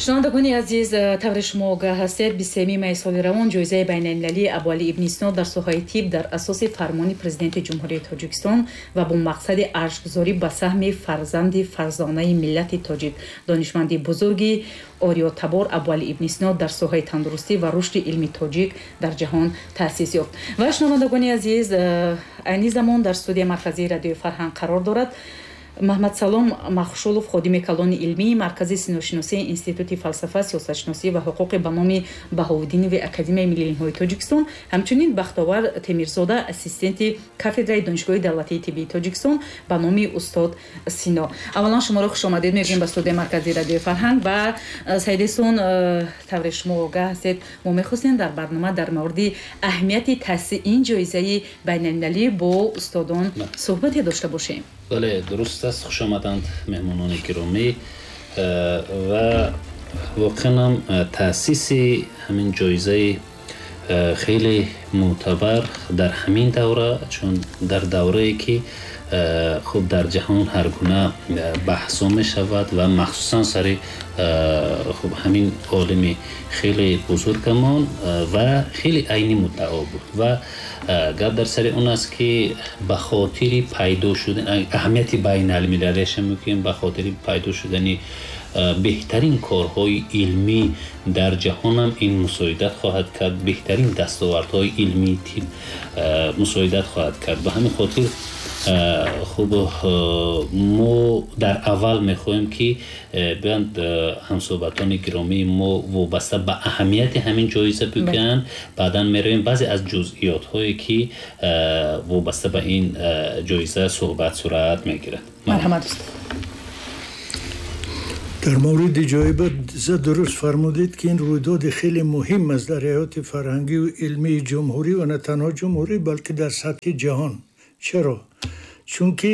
Шунавандагони азиз, тавре шумо огаҳ ҳастед, 23 майи соли равон ҷоизаи байналмилалии Абуалӣ ибни Сино дар соҳаи тиб дар асоси фармони Президенти Ҷумҳурии Тоҷикистон ва бо мақсади арҷгузорӣ ба саҳми фарзанди фарзонаи миллати тоҷик, донишманди бузурги ориётабор Абуалӣ ибни Сино дар соҳаи тандурустӣ ва рушди илми тоҷик дар ҷаҳон таъсис ёфт. Ва шунавандагони азиз, айни замон дар студияи марказии Радиои Фарҳанг қарор дорад Маҳмадсалом Махшулов, ходими калони илмии Маркази синошиносии Институти фалсафа, сиёсатшиносӣ ва ҳуқуқи ба номи Баҳовуддинови Академияи миллии илмҳои Тоҷикистон, ҳамчунин Бахтовар Темирзода, ассистенти кафедраи Донишгоҳи давлатии тиббии Тоҷикистон ба номи устод Сино. Аввалан шуморо хушомадед мегӯем ба студияи марказии Радиои Фарҳанг. Ва Саидесон, тавре шумо огаҳ ҳастед, мо мехостем дар барнома дар мавриди аҳамияти таъсиси ин ҷоизаи байналмилалӣ бо устодон суҳбате дошта бошем. Бале, дуруст аст. Хуш омаданд меҳмонони гиромӣ. Ва воқеан ҳам таъсиси ҳамин ҷоизаи хеле мӯътабар дар ҳамин давра, чун дар даврае ки хуб дар ҷаҳон ҳар гуна баҳсҳо мешавад ва махсусан сари хуб ҳамин олими хеле бузургамон ва хеле айни муддао буд. Ва гап дар сари он аст, ки ба хотири пайдо шудан аҳамияти байналмилалиаша мегӯем, ба хотири пайдо шудани беҳтарин корҳои илмӣ дар ҷаҳонам ин мусоидат хоҳад кард, беҳтарин дастовардҳои илмии тиб мусоидат хоҳад кард. Ба ҳамин хотир хуб мо дар аввал мехоҳем, ки биёнд ҳамсӯҳбатони гиромии мо вобаста ба аҳамияти ҳамин ҷоиза бигӯянд, баъдан меравем баъзе аз ҷузъиётҳое, ки вобаста ба ин ҷоиза суҳбат сурат мегирад. Марҳамат, устод. Дар мавриди ҷоиза дуруст фармудед, ки ин рӯйдоди хеле муҳим аст дар ҳаёти фарҳангию илмии ҷумҳурӣ ва на танҳо ҷумҳурӣ, балки дар сатҳи ҷаҳон. Чаро? Чунки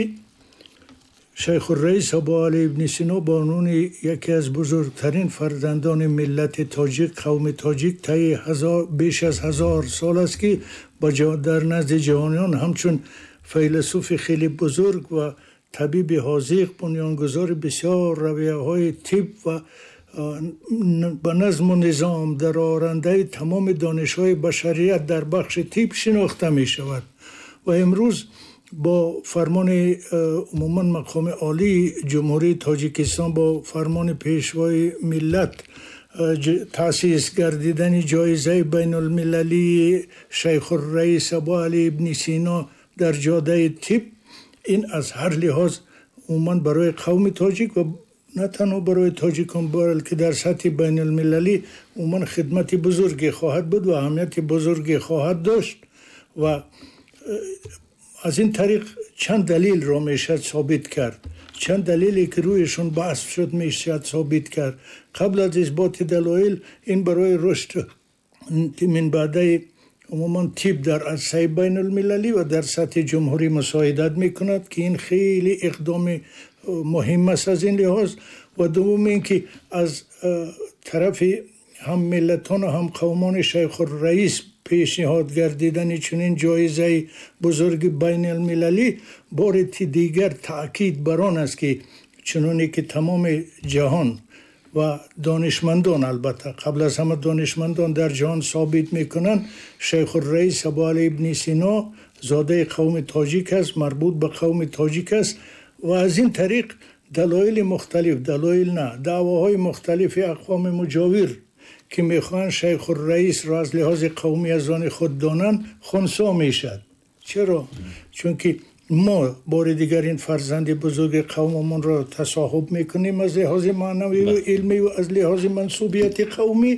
Шайхурраис Абуалӣ ибни Сино ба унвони яке аз бузургтарин фарзандони миллати тоҷик, қавми тоҷик, таи беш аз 1000 сол аст, ки дар назди ҷаҳониён ҳамчун файласуфи хеле бузург ва табиби ҳозиқ, бунёнгузори бисёр равияҳои тиб ва ба назму низом дарорандаи тамоми донишҳои башарият дар бахши тиб шинохта мешавад. Ва имрӯз бо фармони умуман мақоми олии Ҷумҳурии Тоҷикистон, бо фармони Пешвои миллат, таъсис гардидани ҷоизаи байнулмилалии Шайхурраис Абуалӣ ибни Сино дар ҷодаи тиб, ин аз ҳар лиҳоз умуман барои қавми тоҷик ва на танҳо барои тоҷикон, балки дар сатҳи байнулмилалӣ умуман хидмати бузурге хоҳад буд ва аҳамияти бузурге хоҳад дошт. Ва аз ин тариқ чанд далелро мешавад собит кард, чанд далеле ки рӯяшон баҳс шуд, мешавад собит кард. Қабл аз исботи далоил, ин барои рушд минбаъдаи умуман тиб дар арсаи байнулмилалӣ ва дар сатҳи ҷумҳурӣ мусоидат мекунад, ки ин хеле иқдоми муҳим аст аз ин лиҳоз. Ва дуввум ин ки аз тарафи ҳам миллатон ва ҳам қавмони Шайхурраис пешниҳод гардидани чунин ҷоизаи бузурги байналмилалӣ бори дигар таъкид бар он аст, ки чуноне ки тамоми ҷаҳон ва донишмандон, албатта қабл аз ҳама донишмандон дар ҷаҳон собит мекунанд, Шайхурраис Абуалӣ ибни Сино зодаи қавми тоҷик аст, марбут ба қавми тоҷик аст. Ва аз ин тариқ далоили мухталиф, далоил на, даъвоҳои мухталифи ақвоми муҷовир, ки мехоҳанд Шайхурраисро аз лиҳози қавмӣ аз они худ донанд, хунсо мешавад. Чаро? Чунки мо бори дигар ин фарзанди бузурги қавмамонро тасоҳуб мекунем аз лиҳози маънавию илмӣ ва аз лиҳози мансубияти қавмӣ.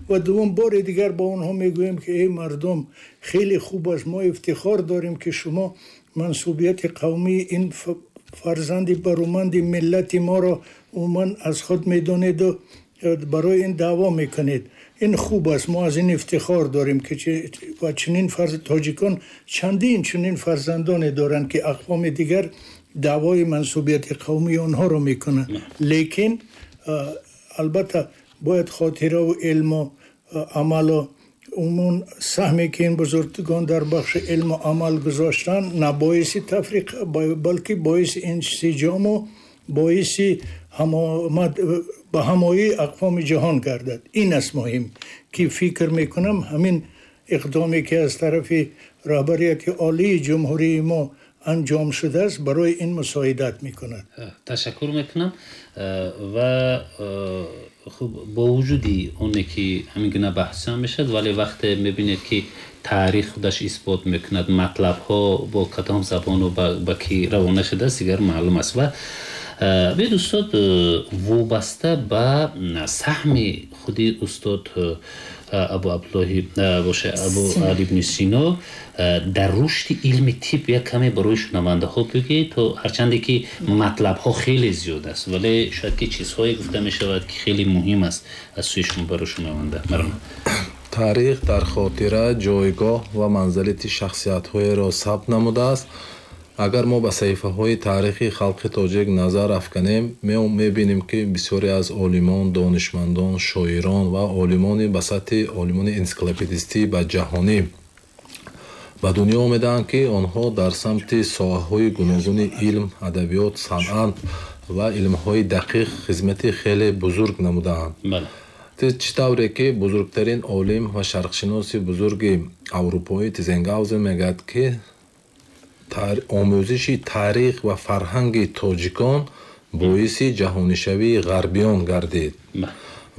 Ва дуввум, бори дигар ба онҳо мегӯем, ки эй мардум, хеле хуб аст, мо ифтихор дорем, ки шумо мансубияти қавмии ин фарзанди баруманди миллати моро умуман аз худ медонеду барои ин даъво мекунед. Ин хуб аст, мо аз ин ифтихор дорем, ки ва чунин тоҷикон чандин чунин фарзандоне доранд, ки ақвоми дигар даъвои мансубияти қавмии онҳоро мекунанд. Лекин албатта бояд хотираву илму амалу умуман саҳме, ки ин бузургон дар бахши илму амал гузоштанд, на боиси тафриқ, балки боиси инсиҷому боиси ба ҳамоии ақвоми ҷаҳон гардад. Ин аст муҳим, ки фикр мекунам ҳамин иқдоме, ки аз тарафи раҳбарияти олии ҷумҳурии мо анҷом шудааст, барои ин мусоидат мекунад. Ташаккур мекунам. Ва хуб, бо вуҷуди оне ки ҳамин гуна баҳсҳо мешавад, вале вақте мебинед, ки таърих худаш исбот мекунад, матлабҳо бо кадом забону ба кӣ равона шудааст, дигар маълум аст. Ва биёед, устод, вобаста ба саҳми худи устод Абу Абдуллоҳи боша, Абу Али ибни Сино дар рушди илми тиб як каме барои шунавандаҳо бигӯед, то ҳарчанде ки матлабҳо хеле зиёд аст, вале шояд ки чизҳое гуфта мешавад, ки хеле муҳим аст аз сӯи шумо барои шунаванда. Марҳамат. Таърих дар хотира ҷойгоҳ ва манзилати шахсиятҳоеро сабт намудааст. Агар мо ба саҳифаҳои таърихи халқи тоҷик назар афканем, мебинем, ки бисёре аз олимон, донишмандон, шоирон ва олимони ба сатҳи олимони энсиклопедистӣ ба ҷаҳонӣ ба дунё омедаанд, ки онҳо дар самти соҳаҳои гуногуни илм, адабиёт, санъат ва илмҳои дақиқ хизмати хеле бузург намудаанд. Чӣ тавре ки бузургтарин олим ва шарқшиноси бузурги аврупоӣ Тизенгаузен мегӯяд, ки омӯзиши таърих ва фарҳанги тоҷикон боиси ҷаҳонишавии ғарбиён гардид.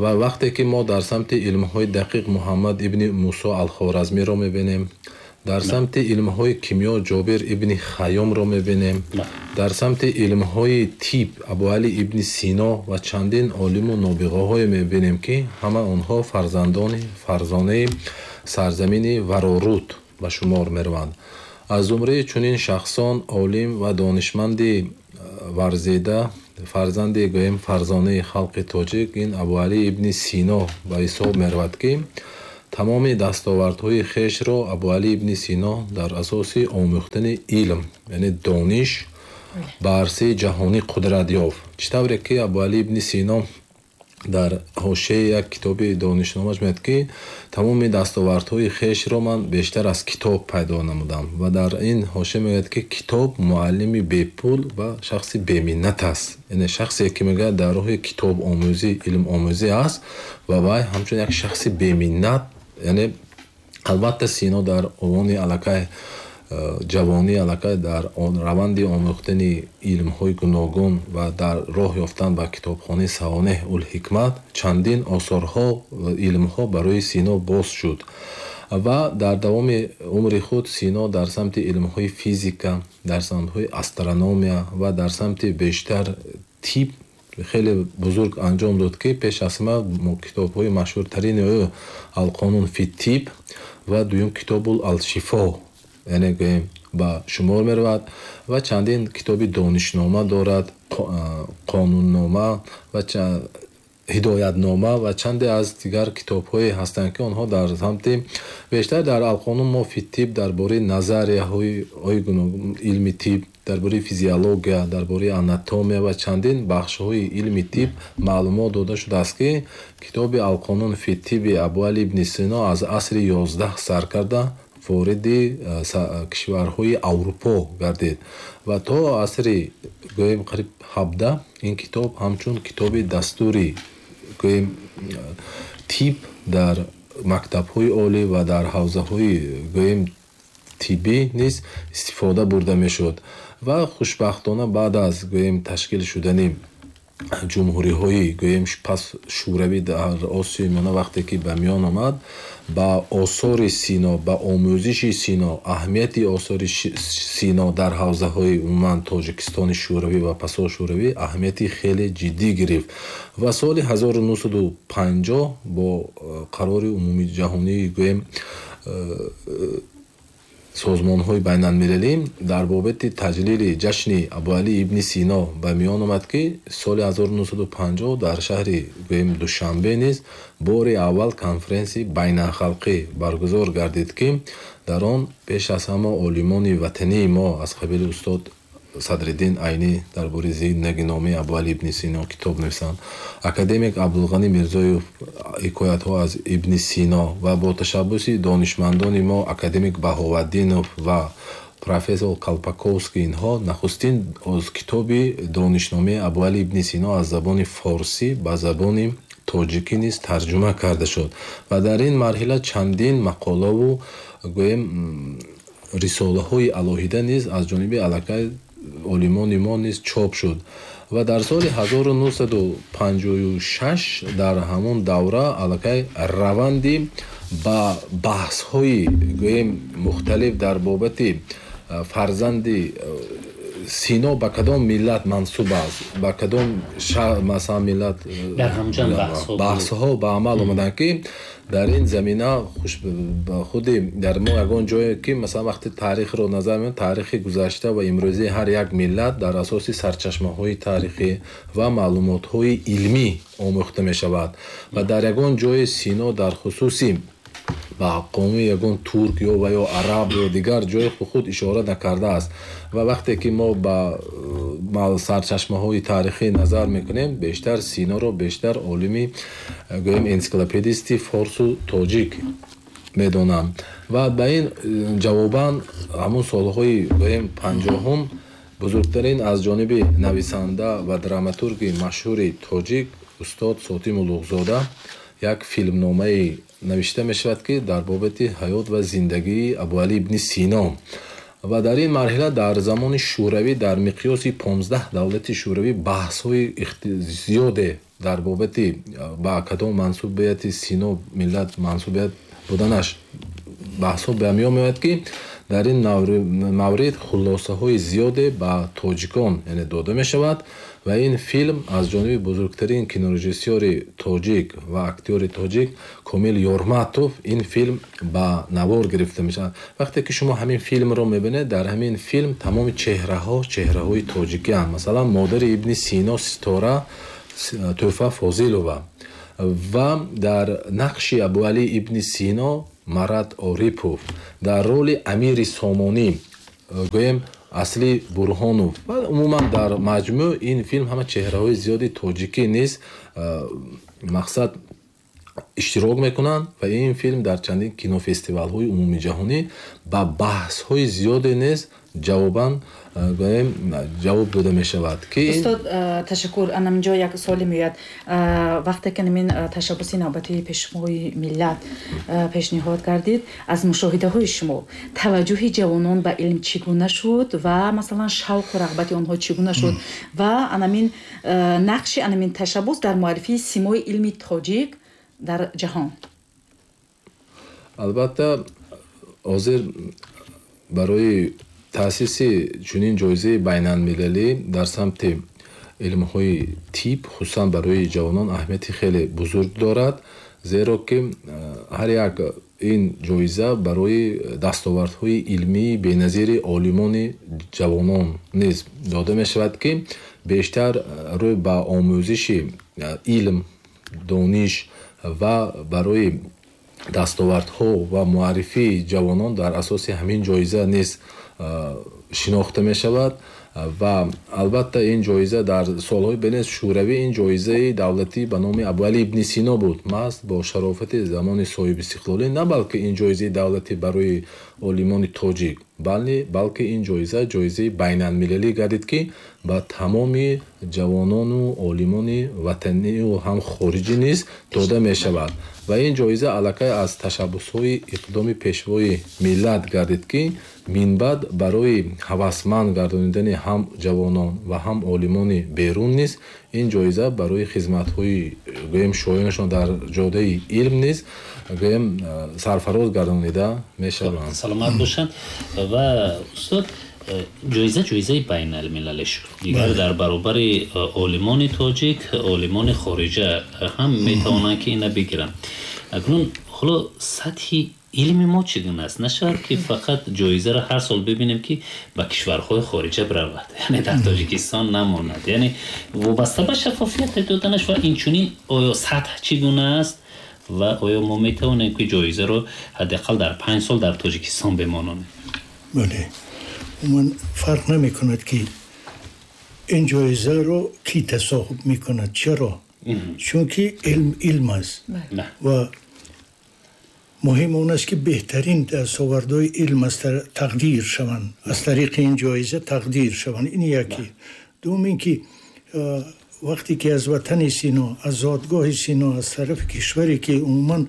Ва вақте ки мо дар самти илмҳои дақиқ Муҳаммад ибни Мусо Алхоразмиро мебинем, дар самти илмҳои кимиё Ҷобир ибни Хайёмро мебинем, дар самти илмҳои тиб Абуали ибни Сино ва чандин олиму нобиғаҳое мебинем, ки ҳама онҳо фарзандони фарзонаи сарзамини Вароруд ба шумор мераванд. Аз зумраи чунин шахсон олим ва донишманди варзида, фарзанди гӯем фарзонаи халқи тоҷик, ин Абуали ибни Сино ба ҳисоб меравад, ки тамоми дастовардҳои хешро Абуали ибни Сино дар асоси омӯхтани илм, яъне дониш, ба арсаи ҷаҳонӣ қудрат ёфт. Чӣ тавре ки Абуали ибни Сино дар ҳошияи як китоби донишномаш мегӯяд, ки тамоми дастовардҳои хешро ман бештар аз китоб пайдо намудам, ва дар ин ҳошия мегӯяд, ки китоб муаллими бепул ва шахси беминнат аст, яъне шахсе ки мегӯяд дар роҳи китобомӯзӣ, илмомӯзӣ аст, ва вай ҳамчун як шахси беминнат. Яъне албатта Сино дар овони аллакай ҷавонӣ, аллакай дар раванди омӯхтани илмҳои гуногун ва дар роҳ ёфтан ба китобхонаи Савонеҳ ул-Ҳикмат чандин осорҳо ва илмҳо барои Сино боз шуд. Ва дар давоми умри худ Сино дар самти илмҳои физика, дар самтҳои астрономия ва дар самти бештар тиб хеле бузург анҷом дод, ки пеш аз ҳама китобҳои машҳуртарини ӯ Алқонун фи тиб ва дуюм китобул Алшифо, яъне гӯем, ба шумор меравад, ва чандин китоби донишнома дорад, қонуннома ва ҳидоятнома ва чанде аз дигар китобҳое ҳастанд, ки онҳо дар самти бештар дар Алқонун мо фи тиб дар бораи назарияҳои гуногун илми тиб, дар бораи физиология, дар бораи анатомия ва чандин бахшҳои илми тиб маълумот дода шудааст, ки китоби Алқонун фи тиби Абуали ибни Сино аз асри 11 сар карда вориди кишварҳои Аврупо гардид ва то асри гӯем қариб 17 ин китоб ҳамчун китоби дастури гӯем тиб дар мактабҳои олӣ ва дар ҳавзаҳои гӯем тиббӣ низ истифода бурда мешуд. Ва хушбахтона баъд аз гӯем ташкил шудани ҷумҳуриҳои гӯем пас шӯравӣ дар Осиёи Миёна, вақте ки ба миён омад, ба осори Сино, ба омӯзиши Сино, аҳамияти осори Сино дар ҳавзаҳои умуман Тоҷикистони шӯравӣ ва пасошӯравӣ аҳамияти хеле ҷиддӣ гирифт. Ва соли 1950 бо қарори умумиҷаҳонии гӯем созмонҳои байналмилалӣ дар бобати таҷлили ҷашни Абуалӣ ибни Сино ба миён омад, ки соли 1950 дар шаҳри гӯем Душанбе низ бори аввал конференсияи байналхалқӣ баргузор гардид, ки дар он пеш аз ҳама олимони ватании мо аз қабили устод Садриддин Айнӣ дар бораи зиндагиномаи Абуалӣ ибни Сино китоб нависанд, академик Абдулғанӣ Мирзоев ҳикоятҳо аз ибни Сино ва бо ташаббуси донишмандони мо академик Баҳоваддинов ва Профессор Калпаковский, инҳо нахустин аз китоби донишномаи Абуали ибни Сино аз забони форсӣ ба забони тоҷикӣ низ тарҷума карда шуд ва дар ин марҳила чандин мақолаву, гӯем, рисолаҳои алоҳида низ аз ҷониби аллакай олимони мо низ чоп шуд. Ва дар соли 1956 дар ҳамон давра аллакай раванди ба баҳсҳои, гӯем, мухталиф дар бобати фарзанди Сино ба кадом миллат мансуб аст, ба кадом, масалан, миллат, дар ҳамҷан баҳсҳо ба амал омаданд, ки дар ин замина худи дар мо ягон ҷое ки, масалан, вақти таърихро назар меорем, таърихи гузашта ва имрӯзии ҳар як миллат дар асоси сарчашмаҳои таърихӣ ва маълумотҳои илмӣ омӯхта мешавад. Ва дар ягон ҷое Сино дар хусуси ба қавми ягон турк ё ва ё араб ё дигар ҷои худ ишора накардааст. Ва вақте ки мо ба сарчашмаҳои таърихӣ назар мекунем, бештар Синоро бештар олими, гӯем, энсиклопедисти форсу тоҷик медонанд. Ва ба ин ҷавобан ҳамун солҳои, гӯем, 50-ум бузургтарин аз ҷониби нависанда ва драматурги машҳури тоҷик устод Сотим Улуғзода як филмномаи навишта мешавад, ки дар бобати ҳаёт ва зиндагии Абуалӣ ибни Сино. Ва дар ин марҳила дар замони Шӯравӣ дар миқёси 15 давлати Шӯравӣ баҳсҳои зиёде дар бобати ба кадом мансубияти Сино миллат мансубият буданаш баҳсҳо ба миён меояд, ки дар ин маврид хулосаҳои зиёде ба тоҷикон, яъне, дода мешавад. Ва ин филм аз ҷониби бузургтарин кинорежиссёри тоҷик ва актёри тоҷик Комил Ёрматов ин филм ба навор гирифта мешавад. Вақте ки шумо ҳамин филмро мебинед, дар ҳамин филм тамоми чеҳраҳо чеҳраҳои тоҷикианд. Масалан, модари Ибни Сино Ситора Тӯҳфа Фозилова ва дар нақши Абуалӣ ибни Сино Марат Орипов, дар роли амири Сомонӣ, гӯем, Асли Бурҳонов. Ва умуман дар маҷмӯъ ин филм ҳама чеҳраҳои зиёди тоҷикӣ низ, мақсад, иштирок мекунанд. Ва ин филм дар чандин кинофестивалҳои умумиҷаҳонӣ ба баҳсҳои зиёде низ ҷавобан, гӯем, ҷавоб дода мешавад, ки Устод, ташаккур. Анаминҷо як суоле меояд. Вақте ки намин ташаббуси навбатии Пешвои миллат пешниҳод кардид, аз мушоҳидаҳои шумо таваҷҷӯҳи ҷавонон ба илм чӣ гуна шуд ва, масалан, шавқу рағбати онҳо чӣ гуна шуд ва анамин нақши анамин ташаббус дар муаррифии симои илми тоҷик дар ҷаҳон? Албатта, ҳозир барои таъсиси чунин ҷоизаи байналмилалӣ дар самти илмҳои тиб, хусусан барои ҷавонон, аҳамияти хеле бузург дорад, зеро ки ҳар як ин ҷоиза барои дастовардҳои илмии беназири олимони ҷавонон низ дода мешавад, ки бештар рӯй ба омӯзиши илм, дониш ва барои дастовардҳо ва муаррифии ҷавонон дар асоси ҳамин ҷоиза низ шинохта мешавад. Ва албатта, ин ҷоиза дар солҳои бенез Шӯравӣ ин ҷоизаи давлатӣ ба номи Абуалӣ ибни Сино буд. Маҳз бо шарофати замони соҳибистиқлолӣ на балки ин ҷоизаи давлатӣ барои олимони тоҷик, балки ин ҷоиза ҷоизаи байналмилалӣ гардид, ки ба тамоми ҷавонону олимони ватанию ҳам хориҷӣ низ дода мешавад. Ва ин ҷоиза аллакай аз ташаббусҳои иқдоми Пешвои миллат гардид, ки минбаъд барои ҳавасманд гардонидани ҳам ҷавонон ва ҳам олимони берун низ ин ҷоиза барои хизматҳои, гӯем, шоёнашон дар ҷодаи илм низ, гӯем, сарфароз гардонида мешаванд. Саломат бошанд. Ва устод, ҷоиза ҷоизаи байналмилалӣ шуд, дигар дар баробари олимони тоҷик олимони хориҷа ҳам метавонанд, ки ина бигиранд. Акнун ҳоло сатҳи илми мо чӣ гуна аст? Нашавад, ки фақат ҷоизаро ҳар сол бибинем, ки ба кишварҳои хориҷа биравад, яъне дар Тоҷикистон намонад, яъне вобаста ба шаффофияти доданаш ва инчунин оё сатҳ чӣ гуна аст ва оё мо метавонем, ки ҷоизаро ҳадди ақал дар 5 сол дар Тоҷикистон бемононем? Бале, умуман фарқ намекунад, ки ин ҷоизаро кӣ тасоҳиб мекунад. Чаро? Чунки илм илм аст ва Муҳим он аст, ки беҳтарин дастовардҳои илм аз тақдир шаванд, аз тариқи ин ҷоиза тақдир шаванд. Ин яке. Дуюм ин ки вақте ки аз ватани Сино, аз зодгоҳи Сино, аз тарафи кишваре ки умуман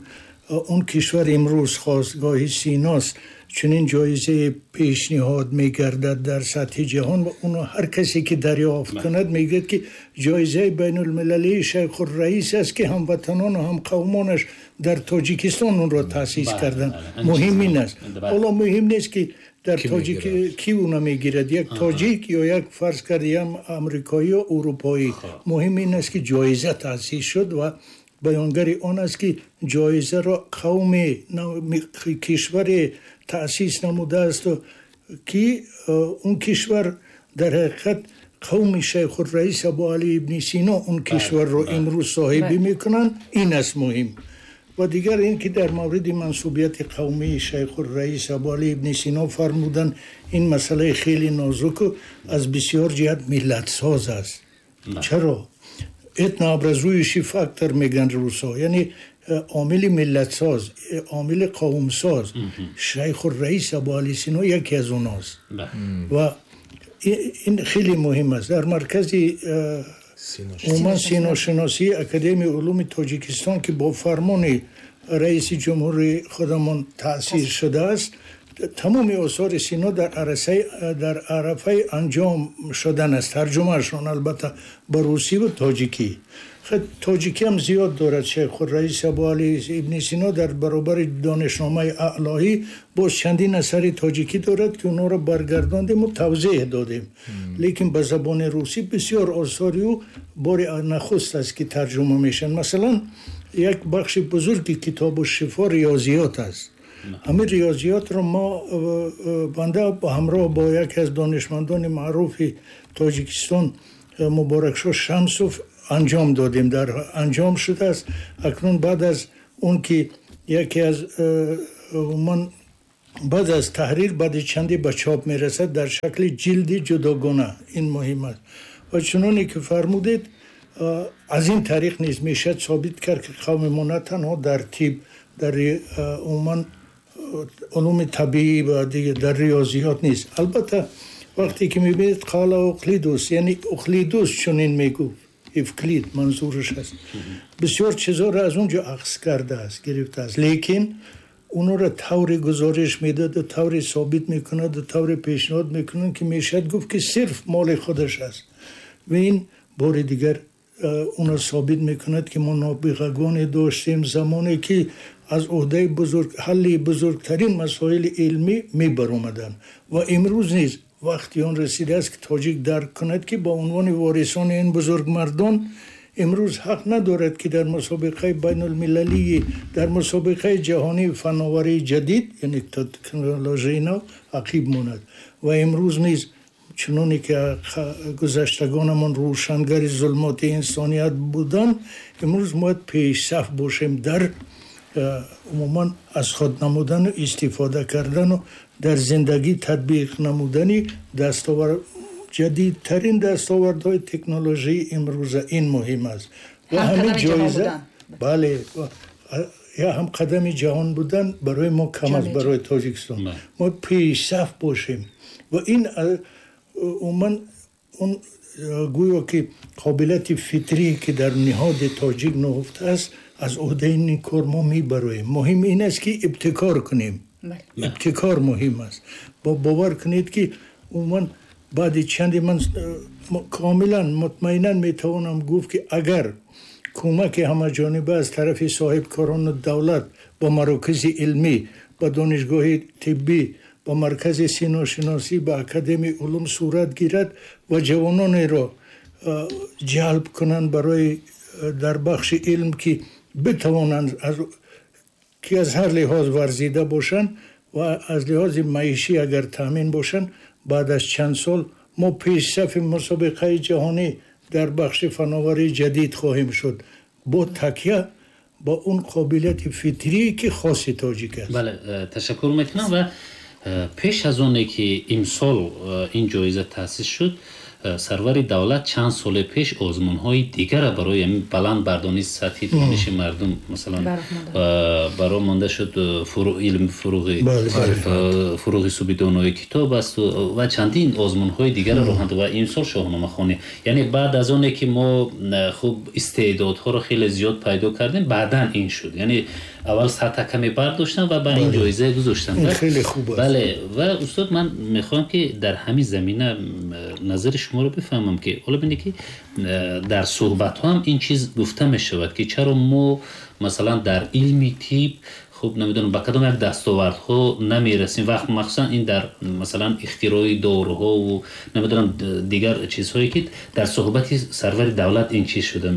он кишвар имрӯз хостгоҳи Синост, чунин ҷоизае пешниҳод мегардад дар сатҳи ҷаҳон ва онро ҳар касе ки дарёфт кунад, мегӯяд, ки ҷоизаи байналмилалии Шайхурраис аст, ки ҳамватанон ва ҳамқавмонаш дар Тоҷикистон онро таъсис карданд. Муҳим ин аст. Ҳоло муҳим нест, ки дар тоҷик ки уна мегирад, як тоҷик ё як, фарз кардем, амрикоӣ ё урупоӣ. Муҳим ин аст, ки ҷоиза таъсис шуд ва баёнгари он аст, ки ҷоизаро қавми кишваре таъсис намудааст, ки он кишвар дар ҳақиқат қавми Шайхурраис Абуалӣ ибни Сино он кишварро имрӯз соҳибӣ мекунанд. Ин аст муҳим. Ва дигар ин ки дар мавриди мансубияти қавмии Шайхурраис Абуалӣ ибни Сино фармуданд, ин масъалаи хеле нозуку аз бисёр ҷиҳат миллатсоз аст. Чаро? Этнообразующий фактор мегӯянд русҳо, яъне омили миллатсоз, омили қавмсоз. Шайхурраис Абуалӣ Сино яке аз онҳост ва ин хеле муҳим аст. Дар маркази умуман синошиносии Академияи улуми Тоҷикистон, ки бо фармони раиси ҷумҳури худамон таъсис шудааст, тамоми осори Сино дар арафаи анҷом шудан аст, тарҷумаашон албатта ба русӣ ва тоҷикӣ. Тоҷикӣ ҳам зиёд дорад. Шайхурраис Абуалӣ ибни Сино дар баробари Донишномаи аълоҳӣ боз чандин асари тоҷикӣ дорад, ки онҳоро баргардондем ва тавзеҳ додем. Лекин ба забони русӣ бисёр осори ӯ бори нахуст аст, ки тарҷума мешаванд. Масалан, як бахши бузурги Китобу шифо риёзиёт аст. Ҳамин риёзиётро мо, банда ҳамроҳ бо яке аз донишмандони маъруфи Тоҷикистон, Муборакшо Шамсов, анҷом додем, дар анҷом шудааст. Акнун баъд аз он ки яке аз умуман баъд аз таҳрир, баъди чанде ба чоп мерасад дар шакли ҷилди ҷудогона. Ин муҳим аст. Ва чуноне ки фармудед, аз ин тариқ низ мешавад собит кард, ки қавми мо на танҳо дар тиб, дар умуман улуми табиӣ ва дар риёзиёт нест. Албатта, вақте ки мебинед, қала Уқлидус, яъне Уқлидус чунин мегуфт, Евклид манзураш аст, бисёр чизҳоро аз он ҷо ахз кардааст, гирифтааст, лекин онҳоро тавре гузориш медоду, тавре собит мекунаду, тавре пешниҳод мекунад, ки мешавад гуфт, ки сирф моли худаш аст. Ва ин бори дигар онро собит мекунад, ки мо нобиғагоне доштем замоне, ки аз ӯҳдаи бузург ҳалли бузургтарин масоили илмӣ мебаромаданд. Ва имрӯз низ вақти он расидааст, ки тоҷик дарк кунад, ки ба унвони ворисони ин бузургмардон имрӯз ҳақ надорад, ки дар мусобиқаи байнулмилалии, дар мусобиқаи ҷаҳонии фановарии ҷадид, яъне технологияи нав, ақиб монад. Ва имрӯз низ, чуноне ки гузаштагонамон рӯшангари зулмоти инсоният буданд, имрӯз бояд пешсаф бошем дар умуман аз худ намудану истифода кардану дар зиндагӣ татбиқ намудани дастовар ҷадидтарин дастовардҳои технологияи имрӯза. Ин муҳим аст. Ва ҳамин ҷоиза, бале, я ҳамқадами ҷаҳон будан барои мо кам аст, барои Тоҷикистон. Мо пешсаф бошем ва ин умуман он гӯё ки қобилияти фитрӣ, ки дар ниҳоди тоҷик нуҳуфта аст, аз ӯҳдаи ин кор мо мебароем. Муҳим ин аст, ки ибтикор кунем. Ибтикор муҳим аст. Бовар кунед, ки умуман баъди чанде ман комилан мутмаинан метавонам гуфт, ки агар кӯмаки ҳамаҷониба аз тарафи соҳибкорону давлат ба марокизи илмӣ, ба донишгоҳи тиббӣ, ба маркази синошиносӣ, ба Академияи улум сурат гирад ва ҷавононеро ҷалб кунанд барои дар бахши илм, ки битавонанд, ки аз ҳар лиҳоз варзида бошанд ва аз лиҳози маишӣ агар таъмин бошанд, баъд аз чанд сол мо пешсафи мусобиқаи ҷаҳонӣ дар бахши фановарии ҷадид хоҳем шуд бо такя ба он қобилияти фитрие, ки хоси тоҷик аст. Бале, ташаккур мекунам. Ва пеш аз оне ки имсол ин ҷоиза таъсис шуд, Сарвари давлат чанд соли пеш озмунҳои дигарро барои ҳамин баланд бардонии сатҳи дониши мардум, масалан, барои монда шуд, илм фуруғи субҳи донои китоб аст ва чандин озмунҳои дигарро роҳанд ва имсол шоҳномахонӣ. Яъне баъд аз оне ки мо хуб истеъдодҳоро хеле зиёд пайдо кардем, баъдан ин шуд. Яъне аввал сатҳ каме бардоштанд ва ба ин ҷоиза гузоштанд. Хеле хуб аст. Бале, ва устод, ман мехоҳам ки дар ҳамин замина назари шуморо бифаҳмам, ки ҳоло бинед ки дар суҳбатҳо ҳам ин чиз гуфта мешавад, ки чаро мо масалан дар илми тиб хуб намедонам ба кадом як дастовардҳо намерасем, вақт махсусан ин дар масалан ихтирои доруҳову намедонам дигар чизҳое ки дар суҳбати сарвари давлат ин чиз шуда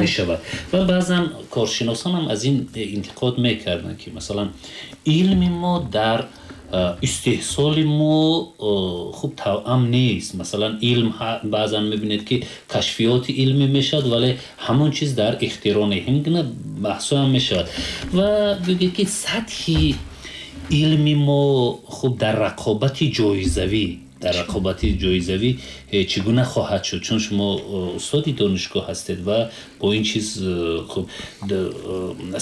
мешавад. Ва баъзан коршиносон ҳам аз ин интиқод мекарданд, ки масалан илми мо дар истеҳсоли мо хуб тавъам нест. Масалан илм баъзан мебинед ки кашфиёти илмӣ мешавад, вале ҳамон чиз дар ихтироъ не, ҳамин гуна баҳсҳо ҳам мешавад. Ва бигӯед ки сатҳи илми мо хуб дар рақобати ҷоизавӣ, дар рақобати ҷоизавӣ чӣ гуна хоҳад шуд? Чун шумо устоди донишгоҳ ҳастед ва бо ин чиз хуб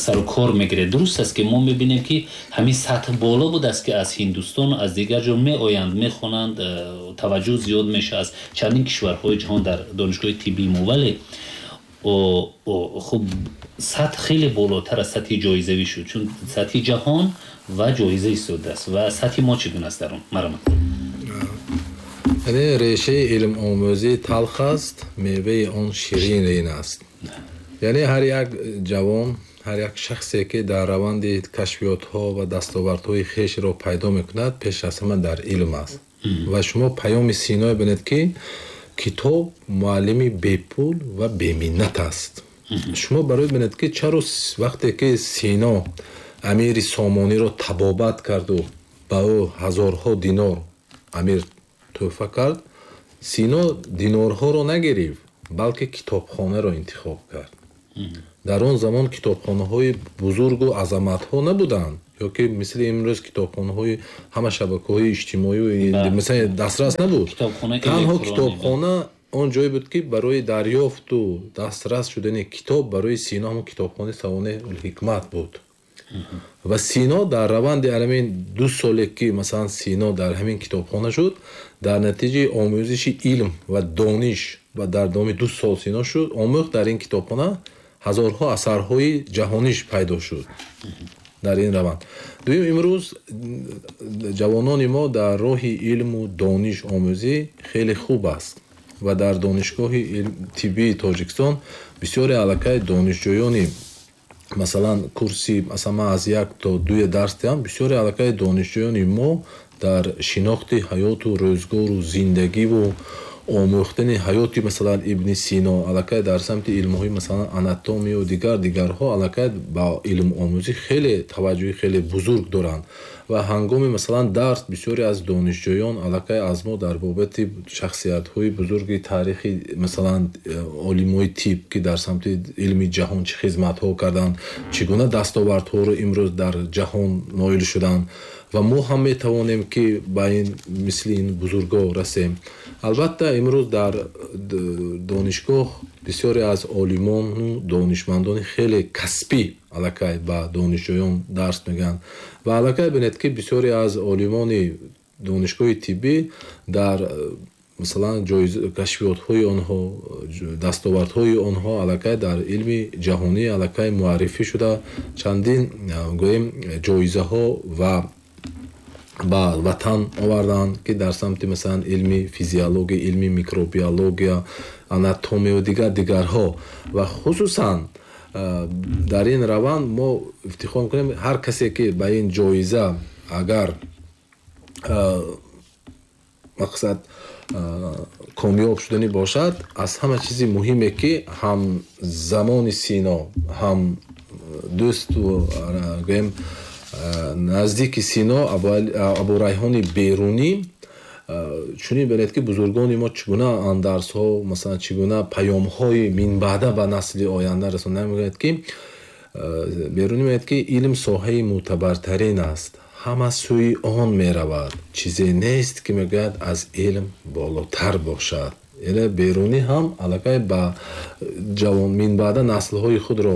сару кор мегиред. Дуруст аст ки мо мебинем ки ҳамин сатҳ боло будааст, ки аз Ҳиндустону аз дигар ҷо меоянд, мехонанд, таваҷҷӯҳ зиёд мешавад аз чандин кишварҳои ҷаҳон дар донишгоҳи тиббии мо, вале хуб сатҳ хеле болотар аз сатҳи ҷоизавӣ шуд, чун сатҳи ҷаҳон ва ҷоиза истодааст. Ва сатҳи мо чӣ гуна аст дар он? Марҳамат. Яъне решаи илмомӯзӣ талх аст, меваи он ширин аст. Яъне ҳар як ҷавон, ҳар як шахсе ки дар раванди кашфиётҳо ва дастовардҳои хешро пайдо мекунад, пеш аз ҳама дар илм аст. Ва шумо паёми Синое бинед, ки китоб муаллими бепул ва беминнат аст. Шумо барои бинед, ки чаро вақте ки Сино амири Сомониро табобат карду ба ӯ ҳазорҳо динор амир тӯҳфа кард, Сино динорҳоро нагирифт, балки китобхонаро интихоб кард. Дар он замон китобхонаҳои бузургу азаматҳо набуданд, ё ки мисли имрӯз китобхонаҳои ҳама шабакаҳои иҷтимоӣ масалан дастрас набуд. Танҳо китобхона он ҷое буд, ки барои дарёфту дастрас шудани китоб барои Сино ҳамон китобхонаи Савонеи-ул-ҳикмат буд. Ва Сино дар раванди ҳамин 2 соле ки масалан Сино дар ҳамин китобхона шуд, дар натиҷаи омӯзиши илм ва дониш ва дар давоми 2 сол Сино шуд омӯхт, дар ин китобхона ҳазорҳо асарҳои ҷаҳониш пайдо шуд дар ин раванд. Дуюм, имрӯз ҷавонони мо дар роҳи илму дониш омӯзӣ хеле хуб аст ва дар донишгоҳи тиббии Тоҷикистон бисёре аллакай донишҷӯёни масалан курси, масалан ман аз 1 то 2 дарс диҳам, бисёре аллакай донишҷӯёни мо дар шинохти ҳаёту рӯзгору зиндагиву омӯхтани ҳаёти масалан Ибни Сино, аллакай дар самти илмҳои масалан анатомию дигарҳо аллакай ба илмомӯзӣ хеле таваҷҷӯҳи хеле бузург доранд. Ва ҳангоми масалан дарс бисёре аз донишҷӯён аллакай аз мо дар бобати шахсиятҳои бузурги таърихи масалан олимои тиб, ки дар самти илми ҷаҳон чӣ хизматҳо карданд, чӣ гуна дастовардҳоро имрӯз дар ҷаҳон ноил шуданд ва мо ҳам метавонем ки ба ин мисли ин бузургҳо расем. Албатта имрӯз дар донишгоҳ бисёре аз олимону донишмандони хеле касбӣ аллакай ба донишҷӯён дарс мегӯянд ва аллакай бинед, ки бисёре аз олимони донишгоҳи тиббӣ дар масалан кашфиётҳои онҳо, дастовардҳои онҳо аллакай дар илми ҷаҳонӣ аллакай муаррифӣ шуда, чандин гӯем ҷоизаҳо ва ба ватан оварданд, ки дар самти масалан илми физиология, илми микробиология, анатомия ва дигарҳо. Ва хусусан дар ин раванд мо ифтихор мекунем, ҳар касе ки ба ин ҷоиза агар мақсад комёб шуданӣ бошад, аз ҳама чизи муҳиме ки ҳам замони Сино, ҳам дӯсту гӯем наздики Сино Абурайҳони Берунӣ чунин бинед, ки бузургони мо чӣ гуна андарсҳо, масалан чӣ гуна паёмҳои минбаъда ба насли оянда расонда мегӯяд, ки Берунӣ мегӯяд, ки илм соҳаи мӯътабартарин аст, ҳама сӯи он меравад, чизе нест, ки мегӯяд аз илм болотар бошад. Яъне Берунӣ ҳам аллакай ба ҷавон минбаъда наслҳои худро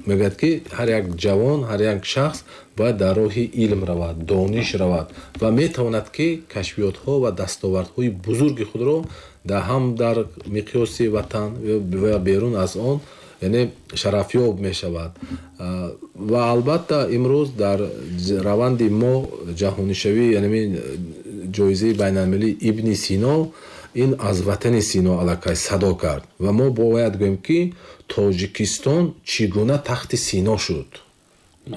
мегӯяд, ки ҳар як ҷавон, ҳар як шахс бояд дар роҳи илм равад, дониш равад ва метавонад, ки кашфиётҳо ва дастовардҳои бузурги худро ҳам дар миқёси ватан ва берун аз он, яъне шарафёб мешавад. Ва албатта имрӯз дар раванди мо ҷаҳонишавӣ, яъне ҷоизаи байналмилалии Ибни Сино, ин аз ватани Сино аллакай садо кард ва мо бояд гӯем, ки Тоҷикистон чӣ гуна тахти Сино шуд,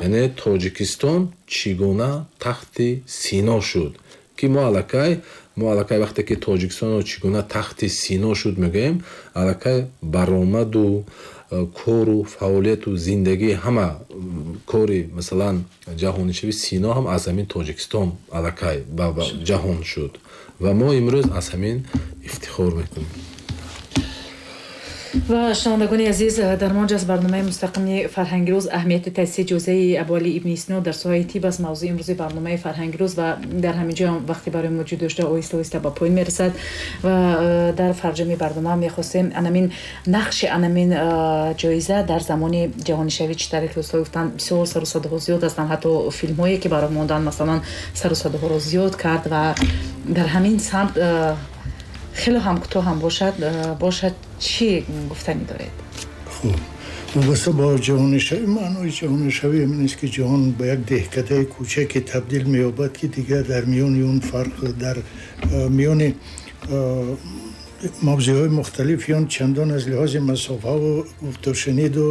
яъне Тоҷикистон чӣ гуна тахти Сино шуд, ки мо аллакай вақте ки Тоҷикистонро чӣ гуна тахти Сино шуд мегӯем, аллакай баромаду кору фаъолияту зиндагии ҳама кори, масалан, ҷаҳонишавии Сино ҳам аз ҳамин Тоҷикистон аллакай ба ҷаҳон шуд ва мо имрӯз аз ҳамин ифтихор мекунем. Ва шунавандагони азиз, дар мо ҷаст барномаи мустақими «Фарҳанги рӯз», аҳамияти таъсиси ҷоизаи Абуалӣ ибни Сино дар соҳаи тиб аст мавзӯи имрӯзи барномаи «Фарҳанги рӯз». Ва дар ҳамин ҷо вақте барои мо ҷудо шуда оҳиста оҳиста ба поён мерасад ва дар фарҷоми барнома мехостем анамин нақши анамин ҷоиза дар замони ҷаҳонишавӣ, чӣ тариқи устод гуфтанд, бисёр сару садоҳо зиёд ҳастанд, ҳатто филмҳое ки барои мондан, масалан, сару садоҳоро зиёд кард ва дар ҳамин самт хеле ҳам кӯтоҳ ҳам бошад, чӣ гуфтанӣ доред? Хуб, вобаста бо ҷаҳонишавӣ, маънои ҷаҳонишавӣ ҳамин аст, ки ҷаҳон ба як деҳкадаи кӯчаке табдил меёбад, ки дигар дар миёни он фарқ, дар миёни мавзеъҳои мухталифи он чандон аз лиҳози масофаву гуфтушуниду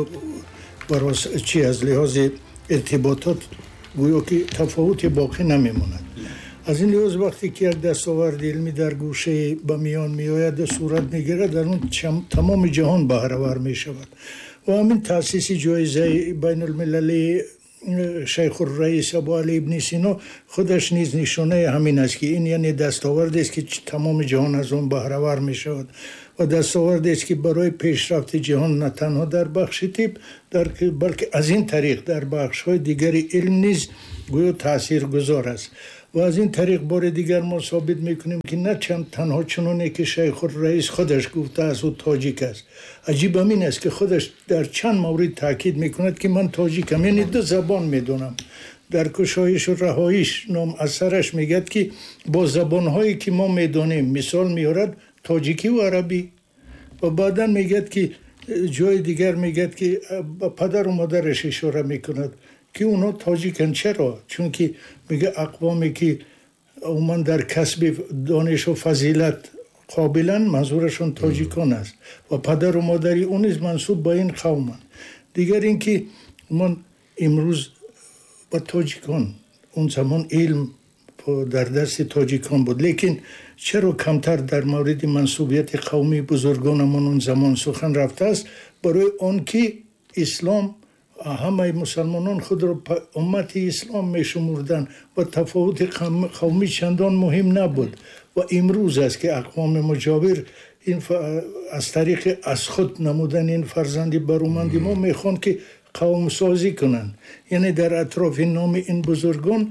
чи аз лиҳози иртиботот гӯё ки тафовуте боқӣ намемонад. Аз ин лиҳоз, вақте ки як дастоварди илмӣ дар гӯшае ба миён меояд, сурат мегирад, дар он тамоми ҷаҳон баҳравар мешавад. Ва ҳамин таъсиси ҷоизаи байнулмилалии Шайхурраис Абуалӣ ибни Сино худаш низ нишонаи ҳамин аст, ки ин яъне дастовардест, ки тамоми ҷаҳон аз он баҳравар мешавад ва дастовардест, ки барои пешрафти ҷаҳон на танҳо дар бахши тиб, балки аз ин тариқ дар бахшҳои дигари илм низ гӯё таъсиргузор аст. Ва аз ин тариқ бори дигар мо собит мекунем, ки на чанд танҳо чуноне ки Шайхурраис худаш гуфтааст, ӯ тоҷик аст. Аҷиб ҳамин аст, ки худаш дар чанд маврид таъкид мекунад, ки ман тоҷикам, яъне ду забон медонам. Дар «Кушоишу раҳоиш» ном асараш мегӯяд, ки бо забонҳое ки мо медонем, мисол меорад тоҷикӣ ва арабӣ. Ва баъдан мегӯяд, ки ҷои дигар мегӯяд, ки ба падару модараш ишора мекунад, ки онҳо тоҷиканд. Чаро? Чунки мега ақвоме ки умуман дар касби донишу фазилат қобиланд, манзурашон тоҷикон аст ва падару модари ӯ низ мансуб ба ин қавманд. Дигар ин ки умуман имрӯз ба тоҷикон, он замон илм дар дасти тоҷикон буд, лекин чаро камтар дар мавриди мансубияти қавмии бузургонамон он замон сухан рафтааст? Барои он ки ислом, ҳамаи мусалмонон худро уммати ислом мешумурданд ва тафовути қавмӣ чандон муҳим набуд. Ва имрӯз аст, ки ақвоми муҷовир ин аз тариқи аз худ намудани ин фарзанди баруманди мо мехоҳанд, ки қавмсозӣ кунанд, яъне дар атрофи номи ин бузургон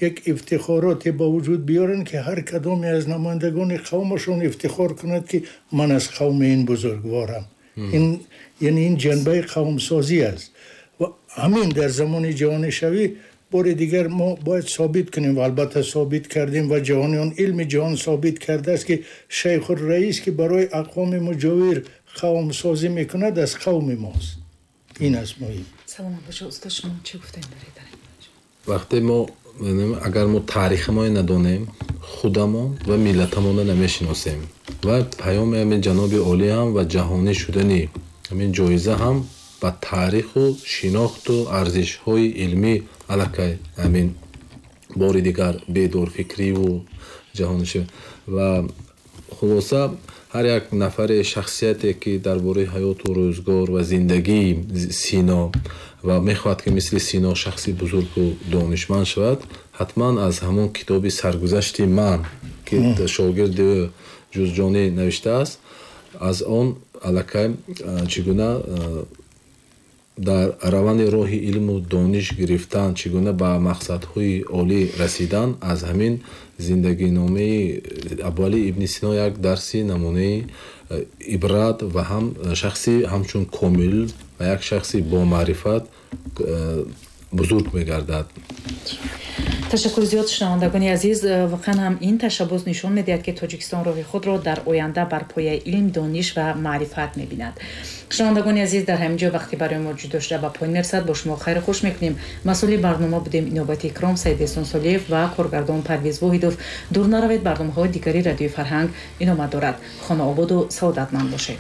як ифтихороте ба вуҷуд биёранд, ки ҳар кадоме аз намояндагони қавмашон ифтихор кунад, ки ман аз қавми ин бузургворам. Ин яъне ин ҷанбаи қавмсозӣ аст. Ва ҳамин дар замони ҷаҳонишавӣ бори дигар мо бояд собит кунем ва албатта собит кардем ва ҷаҳониён, илми ҷаҳон собит кардааст, ки Шайхурраис, ки барои ақвоми муҷовир қавмсозӣ мекунад, аз қавми мост. Ин аст муҳим. Саломат бошед, устод. Шумо чӣ гуфтем доред? Вақте мо, агар мо таърихамон надонем, худамон ва миллатамонро намешиносем. Ва паёми ҳамин ҷаноби олӣ ҳам ва ҷаҳонӣ шудани ҳамин ҷоиза ҳам ба таъриху шинохту арзишҳои илмӣ аллакай ҳамин бори дигар бедорфикриву ҷаҳониши. Ва хулоса, ҳар як нафаре, шахсияте, ки дар бораи ҳаёту рӯзгор ва зиндагии Сино ва мехоҳад, ки мисли Сино шахси бузургу донишманд шавад, ҳатман аз ҳамон китоби «Саргузашти ман», ки шогирди ӯ Ҷузҷонӣ навиштааст, аз он аллакай чӣ гуна Дар раванди роҳи илму дониш гирифтан, чӣ гуна ба мақсадҳои олӣ расидан, аз ҳамин зиндагиномаи Абуалӣ ибни Сино як дарси намунаи ибрат ва ҳам шахси ҳамчун комил ва як шахси бомаърифат бузург мегардад. Ташаккур зиёд, шунавандагони азиз. Воқеан ҳам ин ташаббус нишон медиҳад, ки Тоҷикистон роҳи худро дар оянда бар пояи илм, дониш ва маърифат мебинад. Шунавандагони азиз, дар ҳамин ҷо вақти барои мо ҷудо шуда ба поён мерасад. Бо шумо хайру хуш мекунем. Масъули барнома будем Иновати Икром, Саидесон Солиев ва коргардон Парвиз Воҳидов. Дур наравед, барномаҳои дигари Радиои Фарҳанг идома дорад. Хонаободу саодатманд бошед.